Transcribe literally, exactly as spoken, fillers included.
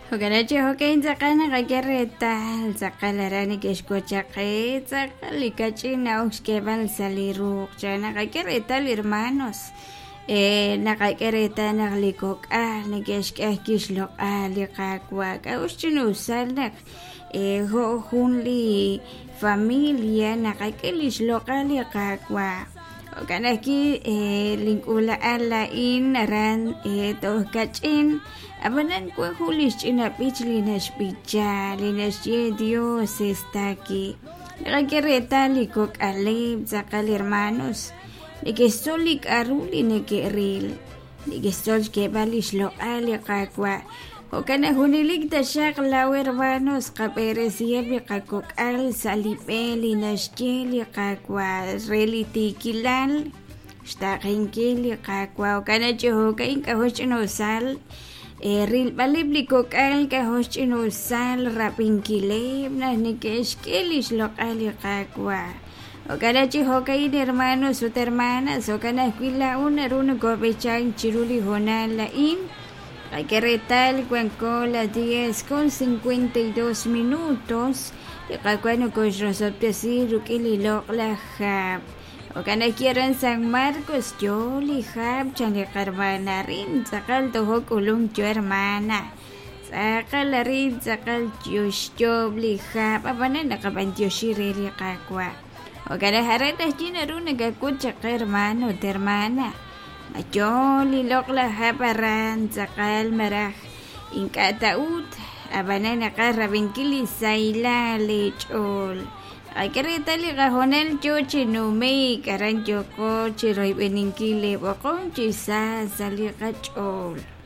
Jo'kan chi jo'kan tz'aqal naqak'e reetal tz'aqal aran neke'xwochaqe tz'aqal li kach'in na'ok xk'eeb'al sa' li ruuq cha naqak'e reetal hermanos eh, naqak'e reetal naq li kok'al neke'xk'e ajwi' xloq'al li Qaawa' k'a'uxl chinusal naq eh, jo' jun li familia naqak'e li xloq'al li Qaawa' jo'kan ajwi' eh, link'uula'al laa'in aran eh, toj kach'in ab'anan wan jun li xch'ina b'ich li naxb'icha li naxye Dios está aquí naqak'e reetal li kok'aleb' tz'aqal hermanos neke'xtzol li k'a'ru li neke'ril neke'xtzol xk'eeb'al li xloq'al li Qaawa' jo'kan naq junelik taxaq law hermanos qab'eresiheb' li qakok'al sa' li b'e li naxye li Qaawa' re li tiikilal xtaqenkil li Qaawa' jo'kan naq chi jo'kan k'a'jo' xch'inusal eh, rilb'aleb' li kok'al k'a'jo' xch'inusal rab'inkileb' naq neke'xk'e li xloq'al li Qaawa' jo'kan naq chi jo'kan hermanos ut hermanas jo'kan ajwi' laa'o naru nokob'ichank chiru li hoonal a'in Qak'e reetal wanko las diez con cincuenta y dos minutos li Qaawa' nokoxrosob'tesi rik'in li loq'laj hab' jo'kan ajwi' aran San Marcos yo li hab' chan li qarmana arin tz'aqal tojo k'ulunk yo hermana tz'aqal arin tz'aqal yoxyob' li hab' ab'anan naqab'antioxi re li Qaawa' jo'kan naq aran ajwi' naru nakak'ut chaq hermano ut hermana ma yo li loq'laj hab' aran tz'aqal maraj ink'a' ta'ut ab'anan naqaj rab'inkil li sahilal li ch'ool qak'e reetal li qajonal yo chi nume'k aran yoko chi royb'eninkil li b'oqom chi sa sa' li qach'ool.